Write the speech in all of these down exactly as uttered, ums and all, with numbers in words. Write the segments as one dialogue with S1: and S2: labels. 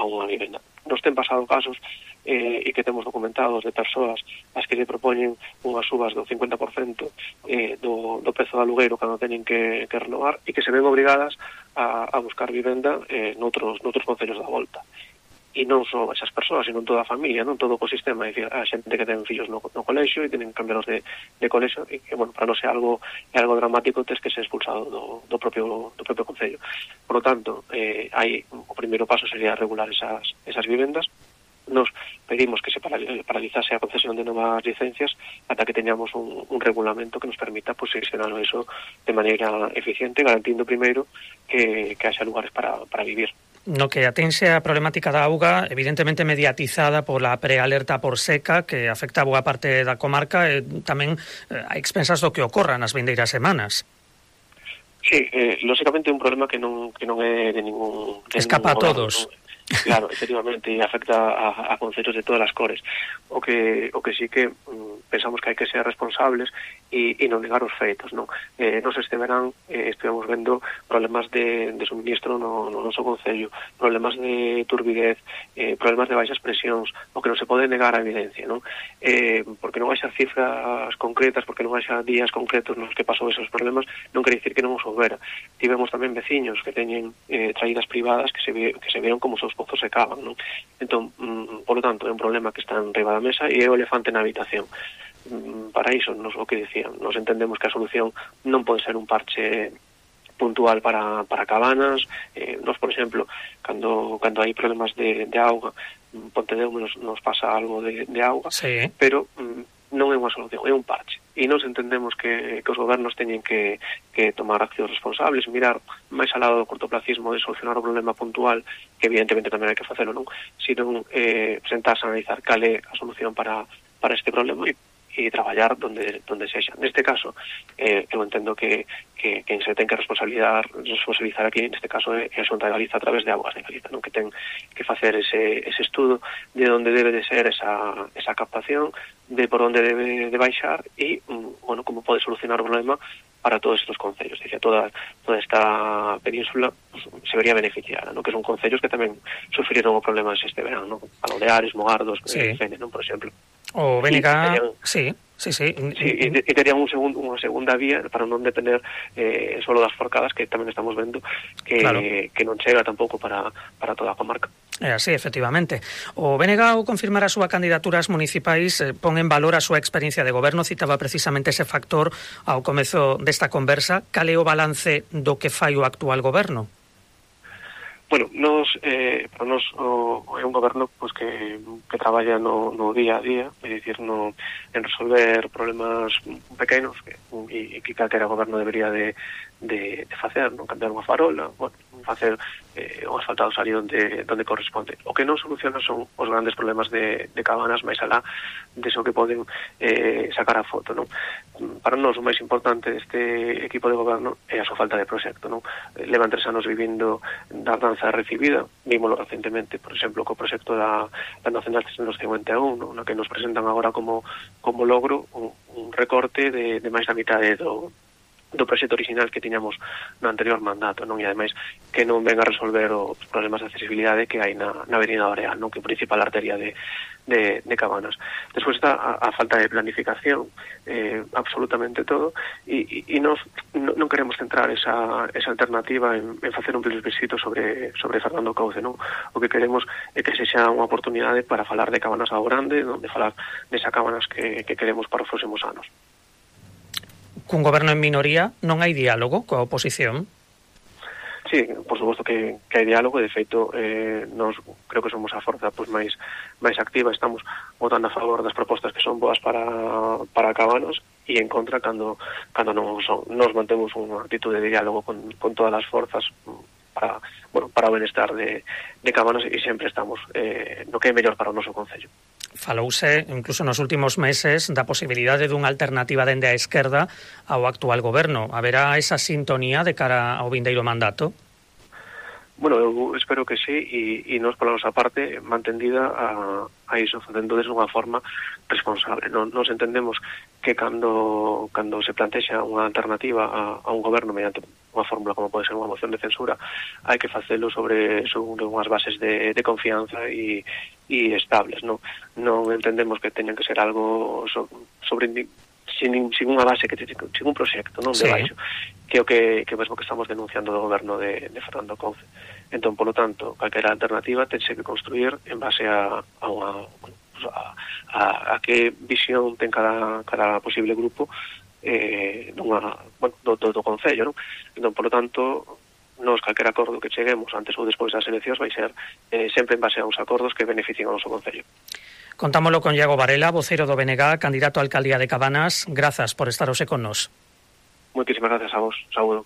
S1: unha vivenda. Nos ten pasado casos eh, e que temos documentados de persoas as que lle propoñen unhas subas do cincuenta por cento eh, do, do prezo do alugueiro cando teñen que, que renovar e que se ven obrigadas a, a buscar vivenda eh, noutros, noutros concellos da volta. E non só esas persoas, sino toda a familia, non todo o ecosistema, é dicir, a xente que ten fillos no, no colexio e tenen que cambiarlos de, de colexio e que, bueno, para non ser algo é algo dramático, tes que ser expulsado do, do propio do propio concello. Por lo tanto, eh, hai o primeiro paso sería regular esas, esas vivendas. Nos pedimos que se paralizase a concesión de novas licencias ata que teñamos un, un regulamento que nos permita pues, gestionar eso de maneira eficiente, garantindo primeiro que, que haxa lugares para, para vivir.
S2: No que atense a problemática da auga, evidentemente mediatizada pola prealerta por seca que afecta a boa parte da comarca e tamén a expensas do que ocorra nas vindeiras semanas.
S1: Sí, eh, lógicamente é un problema que non, que non é de ningún... De
S2: Escapa
S1: ningún
S2: a todos.
S1: Gobierno, ¿no? Claro, efectivamente, e afecta a, a concellos de todas as cores. O que o que sí que mm, pensamos que hai que ser responsables e, e non negar os feitos, non? Eh, nos este verán eh, estivemos vendo problemas de, de suministro no, no noso concello, problemas de turbidez, eh, problemas de baixas presións, o que non se pode negar a evidencia, non? Eh, porque non haxa cifras concretas, porque non haxa días concretos nos que pasou esos problemas, non quere dicir que non os houbera. Tivemos tamén veciños que teñen eh, traídas privadas que se, que se vieron como seus pozos se cavan, non? Entón, mm, por lo tanto, é un problema que está en riba da mesa e é o elefante na habitación. Mm, para iso, nos o que dicían, nos entendemos que a solución non pode ser un parche puntual para, para cabanas. Eh, nos, por exemplo, cando, cando hai problemas de, de auga, Pontedeu nos, nos pasa algo de, de auga,
S2: sí.
S1: Pero mm, non é unha solución, é un parche. E nos entendemos que, que os gobernos teñen que, que tomar accións responsables, mirar máis ao lado do cortoplacismo de solucionar o problema puntual, que evidentemente tamén hai que facelo, non? Sino eh, sentarse a analizar cal é a solución para, para este problema e, e traballar donde, donde sexa. Neste caso, eh, eu entendo que, que quen se ten que responsabilizar, responsabilizar aquí, neste caso, é a Xunta de Galiza a través de Augas de Galiza, non? Que ten que facer ese, ese estudo de onde debe de ser esa, esa captación, de por onde debe de baixar e, bueno, como pode solucionar o problema para todos estes concellos. Dice, toda, toda esta península pues, se vería beneficiada, ¿no? Que son concellos que tamén sufriron o problema este verán, ¿no? Baleares, Mogardos, sí. eh, Fene, ¿no? Por exemplo.
S2: O Bénega, sí, sí, sí.
S1: Sí, e, e terían un segundo, unha segunda vía para non depender eh, solo das forcadas que tamén estamos vendo que, claro. que non chega tampouco para, para toda a comarca.
S2: É así, efectivamente. O B N G ao confirmar a súa candidatura ás municipais eh, pon en valor a súa experiencia de goberno, citaba precisamente ese factor ao comezo desta conversa. Cal é o balance do que fai o actual goberno?
S1: Bueno, nos, eh, para nos o, é un goberno pues, que, que traballa no, no día a día, é dicir, no, en resolver problemas pequenos que, e, e que calquera goberno debería de, de, de facer, non? Cambiar unha farola, bueno, facer eh, o asfaltado salir onde, onde corresponde. O que non soluciona son os grandes problemas de, de cabanas máis alá deso que poden eh, sacar a foto, non? Para nós o máis importante deste equipo de goberno é a súa falta de proxecto, non? Levan tres anos vivindo da danza recibida, vímolo recentemente, por exemplo, co proxecto da, da Nacional trescentos cincuenta e un, non? Na que nos presentan agora como, como logro un, un recorte de, de máis da mitade do do proxecto original que tiñamos no anterior mandato, non? E ademais que non venga a resolver os problemas de accesibilidade que hai na, na Avenida Oreal, non? Que é a principal arteria de, de, de Cabanas. Despois está a, a falta de planificación, eh, absolutamente todo, e, e, e nos, no, non queremos centrar esa, esa alternativa en, en facer un plebiscito sobre, sobre Fernando Couce, non? O que queremos é que sexa unha oportunidade para falar de Cabanas ao grande, non? De falar desa Cabanas que, que queremos para os próximos anos.
S2: Cun goberno en minoría non hai diálogo coa oposición?
S1: Sí, por suposto que, que hai diálogo, de feito eh, nos creo que somos a forza pues, máis máis activa, estamos votando a favor das propostas que son boas para, para Cabanos e en contra cando, cando non son. Nos mantemos unha actitud de diálogo con, con todas as forzas para, bueno, para o benestar de, de Cabanos e sempre estamos eh, no que é mellor para o noso concello.
S2: Falouse, incluso nos últimos meses, da posibilidade dunha alternativa dende a esquerda ao actual goberno. Haberá esa sintonía de cara ao vindeiro mandato?
S1: Bueno, eu espero que sí, e, e nos pola nosa parte mantendida a, a iso, facendo desde unha forma responsable. Non, nos entendemos que cando cando se plantexa unha alternativa a, a un goberno mediante unha fórmula como pode ser unha moción de censura, hai que facelo sobre, sobre unhas bases de, de confianza e, e estables, non? Non entendemos que teñan que ser algo so, sobre sin, sin unha base, que sin un proxecto, non? De
S2: sí.
S1: baixo, que é o que, que mesmo que estamos denunciando do goberno de, de Fernando Couce. Entón, polo tanto, calquera alternativa tense que construir en base a, a unha... Bueno, A, a, a que visión ten cada, cada posible grupo eh, nunha, bueno, do, do, do Concello, non? Entón, polo tanto, nos calquera acordo que cheguemos antes ou despois das eleccións vai ser eh, sempre en base a uns acordos que beneficien ao noso Concello.
S2: Contámolo con Iago Varela, vocero do B N G, candidato a alcaldía de Cabanas. Grazas por estar hoxe con nos.
S1: Moitísimas gracias a vos. Saúdo.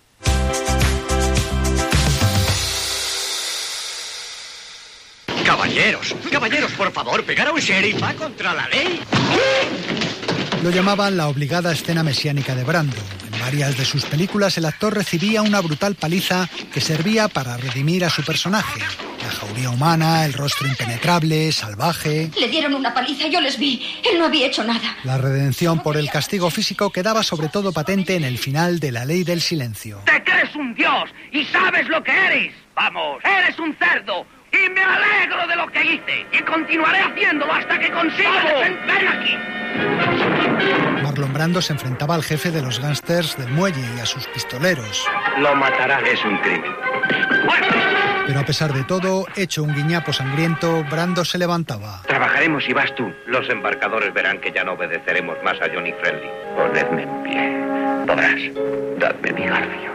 S3: Caballeros, caballeros, por favor, pegar a un sheriff va contra la ley.
S4: Lo llamaban la obligada escena mesiánica de Brando. En varias de sus películas el actor recibía una brutal paliza que servía para redimir a su personaje. La jauría humana, el rostro impenetrable, salvaje...
S5: Le dieron una paliza, yo les vi. Él no había hecho nada.
S4: La redención por el castigo físico quedaba sobre todo patente en el final de La Ley del Silencio.
S6: Te crees un dios y sabes lo que eres. Vamos, eres un cerdo. Y me alegro de lo que hice. Y continuaré haciéndolo hasta que consiga defenderme aquí.
S4: Marlon Brando se enfrentaba al jefe de los gángsters del muelle y a sus pistoleros.
S3: Lo matarán, es un crimen.
S4: Pero a pesar de todo, hecho un guiñapo sangriento, Brando se levantaba.
S3: Trabajaremos y vas tú. Los embarcadores verán que ya no obedeceremos más a Johnny Friendly. Ponedme en pie. Podrás. Dadme mi garfio.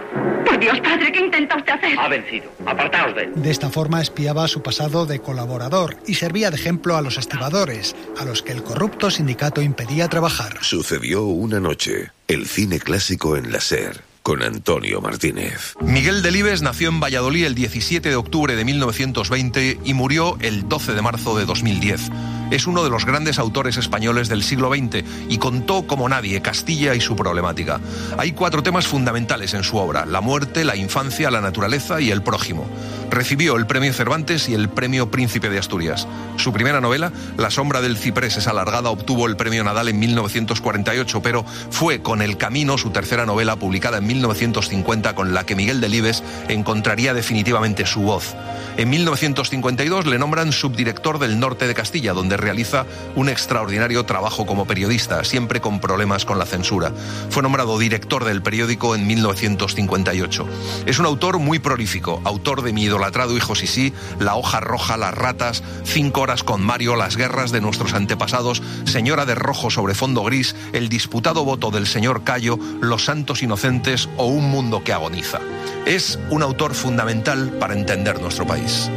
S5: Por Dios, padre, ¿qué intenta usted hacer?
S3: Ha vencido. Apartaos de él.
S4: De esta forma espiaba su pasado de colaborador y servía de ejemplo a los estibadores, a los que el corrupto sindicato impedía trabajar.
S7: Sucedió una noche. El cine clásico en la SER. Con Antonio Martínez.
S8: Miguel Delibes nació en Valladolid el diecisiete de octubre de mil novecientos veinte y murió el doce de marzo de dos mil diez. Es uno de los grandes autores españoles del siglo veinte y contó como nadie Castilla y su problemática. Hay cuatro temas fundamentales en su obra: la muerte, la infancia, la naturaleza y el prójimo. Recibió el premio Cervantes y el premio Príncipe de Asturias. Su primera novela, La sombra del ciprés es alargada, obtuvo el premio Nadal en mil novecientos cuarenta y ocho, pero fue Con el camino, su tercera novela, publicada en mil novecientos cincuenta, con la que Miguel Delibes encontraría definitivamente su voz. En mil novecientos cincuenta y dos le nombran subdirector del Norte de Castilla, donde realiza un extraordinario trabajo como periodista, siempre con problemas con la censura. Fue nombrado director del periódico en mil novecientos cincuenta y ocho. Es un autor muy prolífico, autor de Mi idolatrado hijo Sisí, La hoja roja, Las ratas, Cinco horas con Mario, Las guerras de nuestros antepasados, Señora de rojo sobre fondo gris, El disputado voto del señor Cayo, Los santos inocentes o Un mundo que agoniza. Es un autor fundamental para entender nuestro país.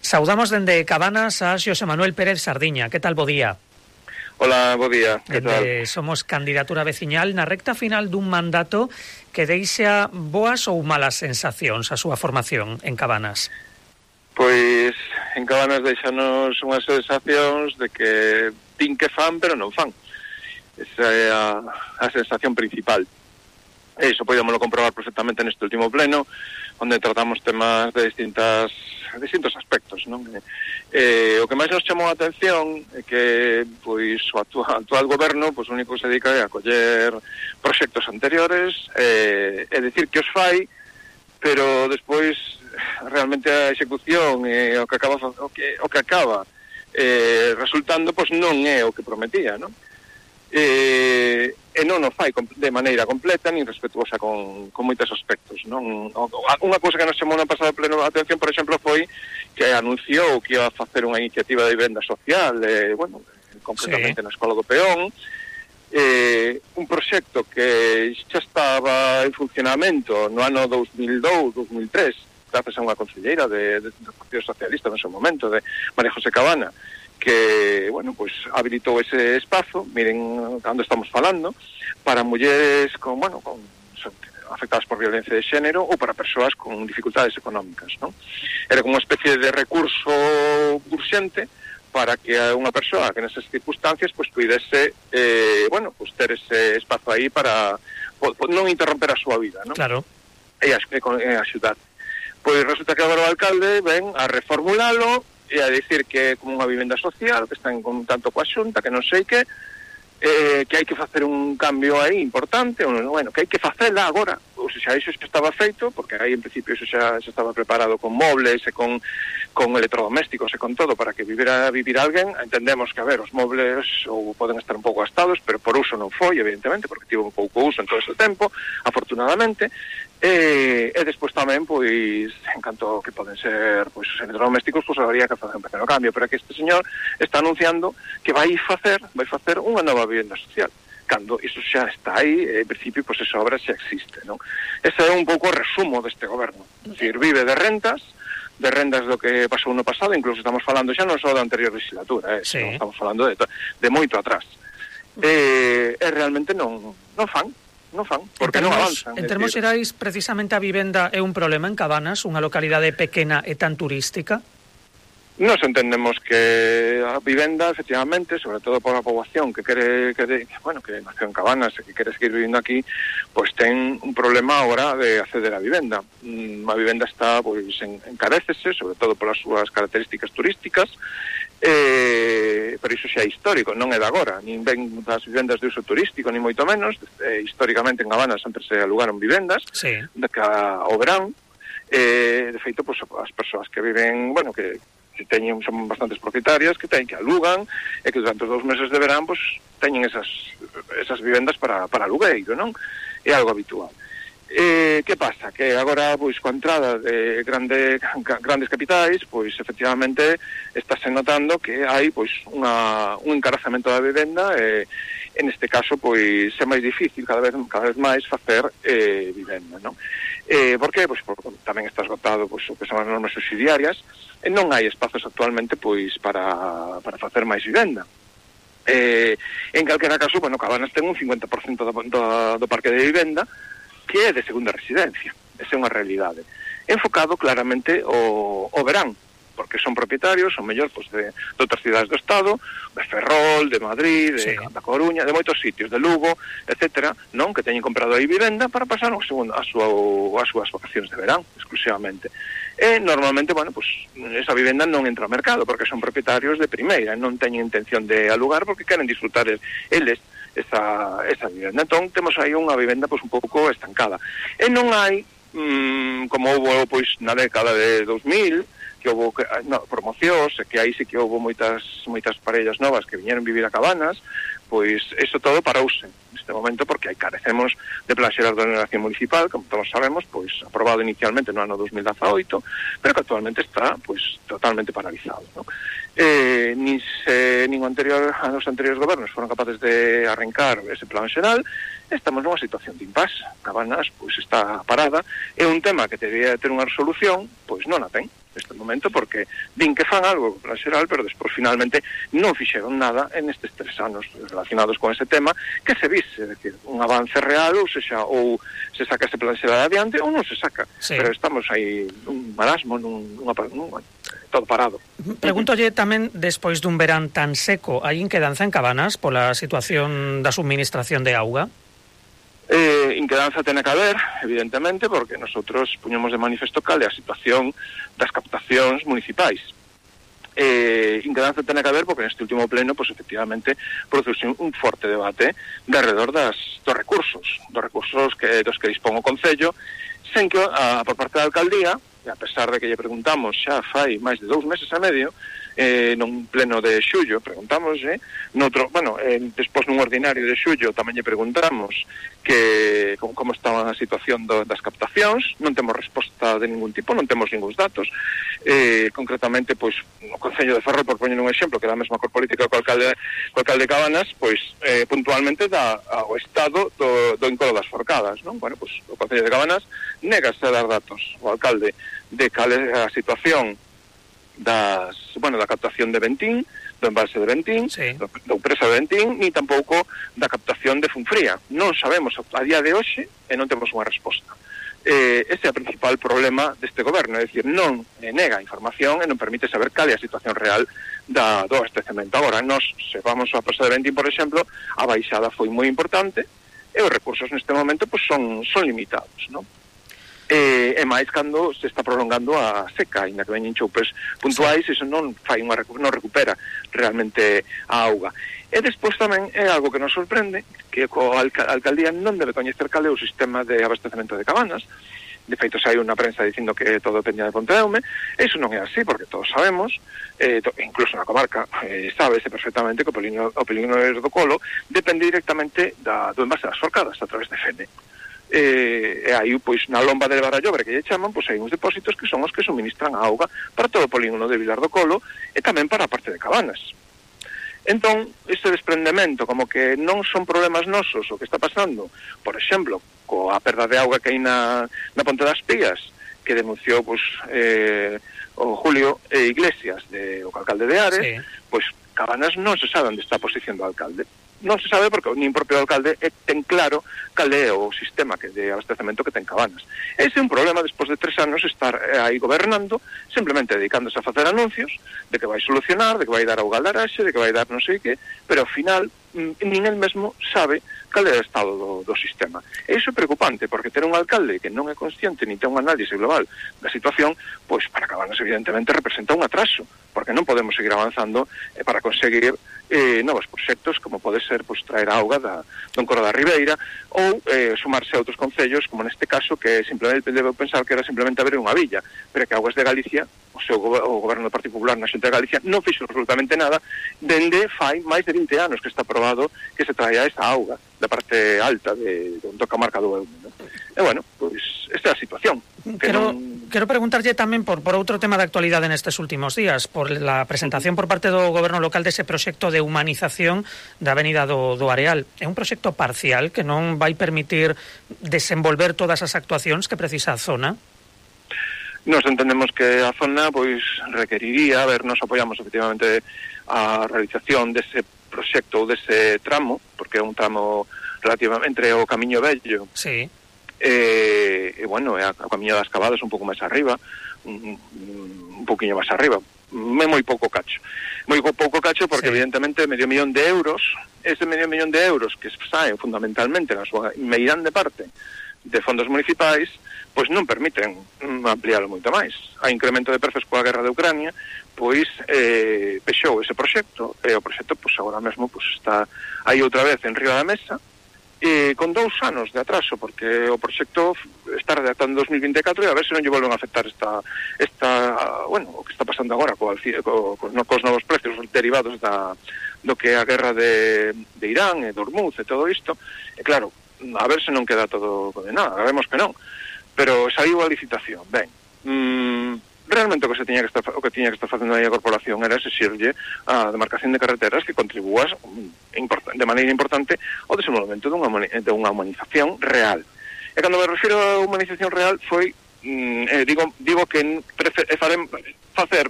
S2: Saudamos dende Cabanas a Xosé Manuel Pérez Sardiña. Que tal, bo día?
S9: Hola, bo día. Que tal?
S2: Eh, somos candidatura veciñal na recta final dun mandato que deixa boas ou malas sensacións a súa formación en Cabanas.
S9: Pois en Cabanas deixanos unhas sensacións de que din que fan, pero non fan. Esa é a, a sensación principal. E iso podíamoslo comprobar perfectamente neste último pleno, onde tratamos temas de distintas distintos aspectos, non? Eh, o que máis nos chamou a atención é que pois o actual, actual goberno pois o único que se dedica é a coller proxectos anteriores eh, e decir que os fai, pero despois realmente a execución e o que acaba o que o que acaba eh, resultando pois non é o que prometía, non? Eh, e non o fai de maneira completa nin respetuosa con, con moitos aspectos, non? Unha cousa que nos chamou no pasado pleno a atención, por exemplo, foi que anunciou que iba a facer unha iniciativa de vivenda social, eh, bueno, concretamente sí, na Escola do Peón, eh, un proxecto que xa estaba en funcionamento no ano dos mil dous, dos mil tres, gracias a unha conselleira de, de, do Partido Socialista no seu momento, de María José Cabana, que, bueno, pues habilitou ese espazo, miren cando estamos falando, para mulleres con, bueno, con afectadas por violencia de xénero ou para persoas con dificultades económicas, ¿no? Era como unha especie de recurso urxente para que unha persoa que nesas circunstancias pues pudese, eh, bueno, pues ter ese espazo aí para po, po, non interromper a súa vida, ¿no?
S2: Claro.
S9: E, e, e axudar. Pois resulta que agora o alcalde ven a reformulalo e a dicir que é como unha vivenda social, que está en contacto coa Xunta, que non sei que, eh, que hai que facer un cambio aí importante, bueno, que hai que facela agora, ou xa iso xa estaba feito, porque aí en principio iso xa, xa estaba preparado con mobles e con, con electrodomésticos e con todo para que vivira vivir alguén. Entendemos que, a ver, os mobles ou poden estar un pouco gastados, pero por uso non foi, evidentemente, porque tivo un pouco uso en todo ese tempo, afortunadamente. E, e despois tamén, pois, en canto que poden ser pois, os electrodomésticos, pois habría que facer un pequeno cambio, pero que este señor está anunciando que vai facer, vai facer unha nova vivenda social, cando iso xa está aí, en principio, pois esa obra xa existe, non? Ese é un pouco o resumo deste goberno, é dicir, vive de rentas, de rendas do que pasou no pasado, incluso estamos falando xa non só da anterior legislatura, eh, sí. Estamos falando de, de moito atrás. E, e realmente non, non fan, non fan, porque
S2: termos,
S9: non avanzan.
S2: En termos xerais, precisamente a vivenda é un problema en Cabanas, unha localidade pequena e tan turística?
S9: Nos entendemos que a vivenda, efectivamente, sobre todo por a poboación que quere, que, bueno, que nació en Cabanas e que quere seguir vivindo aquí, pois ten un problema agora de acceder a vivenda. A vivenda está, pois, en, encarécese, sobre todo polas súas características turísticas, eh, pero iso xa é histórico, non é de agora, nin ven das vivendas de uso turístico, ni moito menos. Eh, históricamente en Cabanas sempre se alugaron vivendas,
S2: sí.
S9: de que ao verán, eh, de feito, pois, as persoas que viven, bueno, que que teñen, son bastantes propietarias que teñen que alugan e que durante os dous meses de verán pues, teñen esas, esas vivendas para, para alugueiro, non? É algo habitual. Eh, que pasa? Que agora, pois, coa entrada de grande, grandes capitais, pois, efectivamente, estáse notando que hai, pois, unha, un encarazamento da vivenda e, en este caso, pois, é máis difícil cada vez, cada vez máis facer eh, vivenda, non? Eh, por qué? Pois, porque tamén está esgotado, pois, o que son as normas subsidiarias, e non hai espazos actualmente, pois, para, para facer máis vivenda. Eh, en calquera caso, bueno, Cabanas ten un cincuenta por cento do, do, do parque de vivenda que é de segunda residencia. Esa é unha realidade. Enfocado claramente o, o verán, porque son propietarios, son mellor pues, de, de outras cidades do Estado, de Ferrol, de Madrid, de sí. da Coruña, de moitos sitios, de Lugo, etcétera, non? Que teñen comprado aí vivenda para pasar o segundo, a súa, as súas vacacións de verán, exclusivamente. E normalmente, bueno, pues esa vivenda non entra ao mercado porque son propietarios de primeira, non teñen intención de alugar porque queren disfrutar eles esa, esa vivenda. Entón, temos aí unha vivenda pues un pouco estancada. E non hai, mmm, como houve pois na década de dos mil, que houve no, promocións, e que aí sí que houve moitas moitas parellas novas que viñeron vivir a Cabanas, pois eso todo parouse neste momento porque aí carecemos de plan xeral de ordenación municipal, como todos sabemos, pois aprobado inicialmente no ano dos mil dezaoito, pero que actualmente está pois totalmente paralizado, ¿no? Eh, nin se nin o anterior a os anteriores gobernos foron capaces de arrancar ese plan xeral. Estamos nunha situación de impasse. Cabanas pois está parada, é un tema que debería ter unha resolución, pois non a ten neste momento, porque din que fan algo plan xeral, pero despois finalmente non fixeron nada en estes tres anos relacionados con ese tema, que se vise, é dicir, un avance real, ou sexa, ou se saca ese plan xeral adiante, ou non se saca, sí. Pero estamos aí nun marasmo, nun, nunha, nun, todo parado.
S2: Pregúntolle tamén, despois dun verán tan seco, hai inquedanza en Cabanas pola situación da suministración de auga?
S9: Eh, inquedanza tene que haber, evidentemente, porque nosotros puñemos de manifesto cal é a situación das captacións municipais. Eh, inquedanza tene que haber porque neste último pleno, pues, efectivamente, produce un forte debate de alrededor das, dos recursos, dos recursos que, dos que dispón o Concello, sen que a, por parte da alcaldía, e a pesar de que lle preguntamos xa fai máis de dous meses e medio, eh, nun pleno de xullo preguntamos, eh, noutro, bueno, eh, despois nun ordinario de xullo tamén lle preguntamos que como, como estaba a situación do, das captacións, non temos resposta de ningún tipo, non temos ningúns datos. Eh, concretamente, pois, o Concello de Ferrol, por poñer un exemplo, que é a mesma cor política co alcalde, co alcalde de Cabanas, pois, eh, puntualmente dá ao estado do, do Encoro das Forcadas, non? Bueno, pois, o Concello de Cabanas negase a dar datos ao alcalde de cal é a situación das, bueno, da captación de Bentín, do embalse de Bentín, sí. da empresa de Bentín, ni tampouco da captación de Funfría. Non sabemos a día de hoxe e non temos unha resposta. Eh, ese é o principal problema deste goberno, é dicir, non nega a información e non permite saber cal é a situación real da, do abastecemento. Agora, nos, se vamos á empresa de Bentín, por exemplo, a baixada foi moi importante e os recursos neste momento pues, son, son limitados, non? E, e máis cando se está prolongando a seca, ainda que veñen choupes puntuais, iso non fai unha non recupera realmente a auga. E despois tamén é algo que nos sorprende, que a alca alcaldía non debe coñecer cal é o sistema de abastecemento de Cabanas. De feito, hai unha prensa dicindo que todo dependía de Pontedeume. Iso non é así, porque todos sabemos, eh, to, incluso na comarca, eh, sábese perfectamente que o Polígono, o Polígono do Colo depende directamente da, do envase das Forcadas a través de Fene. E, e aí, pois, na lomba de Barallobre, que lle chaman, pois hai uns depósitos que son os que suministran a auga para todo o polígono de Vilar do Colo e tamén para a parte de Cabanas. Entón, este desprendemento, como que non son problemas nosos o que está pasando, por exemplo, coa perda de auga que hai na, na Ponte das Pías, que denunciou, pois, eh, o Julio e Iglesias, de, o alcalde de Ares, sí. Pois Cabanas non se sabe onde está a posición do alcalde. Non se sabe porque nin propio alcalde ten claro cal é o sistema que de abastecemento que ten Cabanas. Ese é un problema despois de tres anos estar aí gobernando, simplemente dedicándose a facer anuncios de que vai solucionar, de que vai dar auga al Araxe, de que vai dar non sei que, pero ao final nin el mesmo sabe cal é o estado do, do sistema. E iso é preocupante, porque ter un alcalde que non é consciente nin ten un análise global da situación, pois para Cabanas evidentemente representa un atraso, porque non podemos seguir avanzando eh, para conseguir eh, novos proxectos, como pode ser pois, traer a auga da, do Encoro da Ribeira ou eh, sumarse a outros concellos, como neste caso, que simplemente debo pensar que era simplemente abrir unha villa, pero que Augas de Galicia, o seu o goberno do Partido Popular na Xunta de Galicia, non fixo absolutamente nada dende fai máis de vinte anos que está aprobado que se traia esta auga da parte alta de, de da comarca do Eume, ¿no? E bueno, pois esta é a situación. Que
S2: quero,
S9: non...
S2: quero preguntarlle tamén por, por outro tema de actualidade nestes últimos días, por la presentación por parte do goberno local dese proxecto de humanización da Avenida do, do Areal. É un proxecto parcial que non vai permitir desenvolver todas as actuacións que precisa a zona?
S9: Nos entendemos que a zona pois requeriría, a ver, nos apoiamos efectivamente a realización dese proxecto ou dese tramo, porque é un tramo relativamente entre o Camiño Vello,
S2: sí.
S9: e, e bueno, é o Camiño das Cavadas un pouco máis arriba, un, un pouquiño máis arriba, é moi pouco cacho. Moi pouco cacho porque sí. Evidentemente medio millón de euros, ese medio millón de euros que saen fundamentalmente na súa meirande parte de fondos municipais, pois non permiten ampliálo moito máis. A incremento de prezos coa guerra de Ucrania, pois eh, pexou ese proxecto, e o proxecto pois agora mesmo pois está aí outra vez en riba da mesa, e con dous anos de atraso, porque o proxecto está redactando en dos mil vinte e catro e a ver se non lle volven a afectar esta, esta bueno, o que está pasando agora co, co, co, cos novos precios derivados da, do que é a guerra de, de Irán e do Hormuz e todo isto, e claro, a ver se non queda todo condenado, sabemos que non, pero saiu a licitación, ben, mmm, realmente o que se tiña que estar o que tiña que estar facendo aí a corporación era exixirlle a demarcación de carreteras que contribúas de maneira importante ao desenvolvemento dunha, de unha humanización real. E cando me refiro a humanización real foi, mm, eh, digo, digo que prefer, eh, farem, facer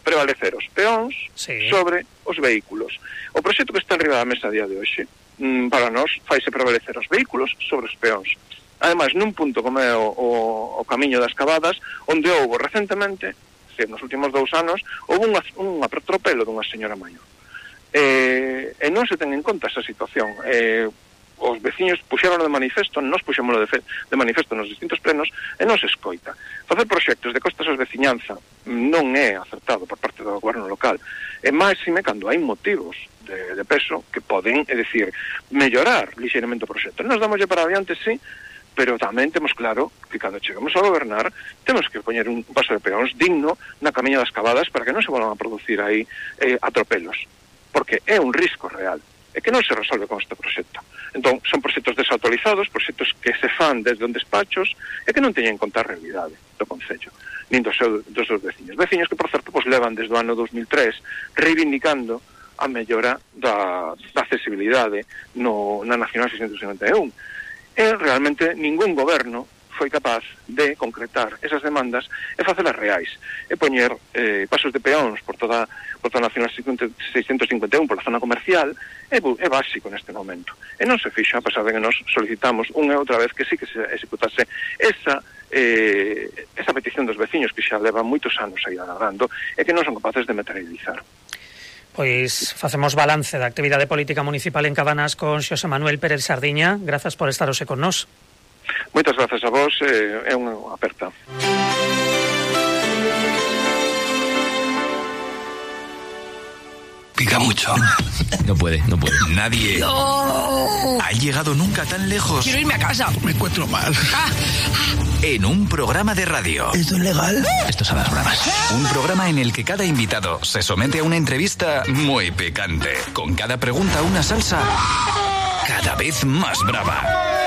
S9: prevalecer os peóns sí. sobre os vehículos. O proxecto que está en riba da mesa a día de hoxe, mm, para nós, faise prevalecer os vehículos sobre os peóns. Ademais, nun punto como é o, o, o Camiño das Cavadas, onde houve recentemente, decir, nos últimos dous anos, houve un, un atropelo dunha señora maior. E, e non se ten en conta esa situación. E, os veciños puxeron de manifesto, nos puxémoslo de, fe, de manifesto nos distintos plenos, e non se escoita. Facer proxectos de costas ás veciñanza non é acertado por parte do goberno local. E máxime cando hai motivos de, de peso que poden, é dicir, mellorar lixeiramente o proxecto. Nos damoslle para adiante, sí, pero tamén temos claro que cando chegamos a gobernar temos que poñer un paso de peóns digno na Camiña das Cavadas para que non se volvan a producir aí eh, atropelos, porque é un risco real e que non se resolve con este proxecto. Entón, son proxectos desautorizados, proxectos que se fan desde os despachos e que non teñen en conta a realidade do Concello, nin dos, seu, dos seus veciños. Veciños que, por certo, pues, levan desde o ano dos mil tres reivindicando a mellora da, da accesibilidade no, na Nacional seiscentos cincuenta e un. E realmente ningún goberno foi capaz de concretar esas demandas e facelas reais, e poñer eh, pasos de peóns por toda, por toda a Nacional seiscentos cincuenta e un, por la zona comercial, é, é básico neste momento. E non se fixa, a pesar de que nos solicitamos unha e outra vez que sí que se executase esa, eh, esa petición dos veciños que xa levan moitos anos aí agardando e que non son capaces de materializar.
S2: Pois facemos balance da actividade política municipal en Cabanas con Xosé Manuel Pérez Sardiña. Grazas por estar hoxe con nós.
S9: Moitas grazas a vos, eh, é unha aperta.
S10: Pica mucho.
S11: No puede, no puede.
S10: Nadie no. ha llegado nunca tan lejos.
S11: Quiero irme a casa.
S10: Me encuentro mal. En un programa de radio.
S11: ¿Esto es legal? Esto es a las bravas.
S10: Un programa en el que cada invitado se somete a una entrevista muy picante. Con cada pregunta una salsa cada vez más brava.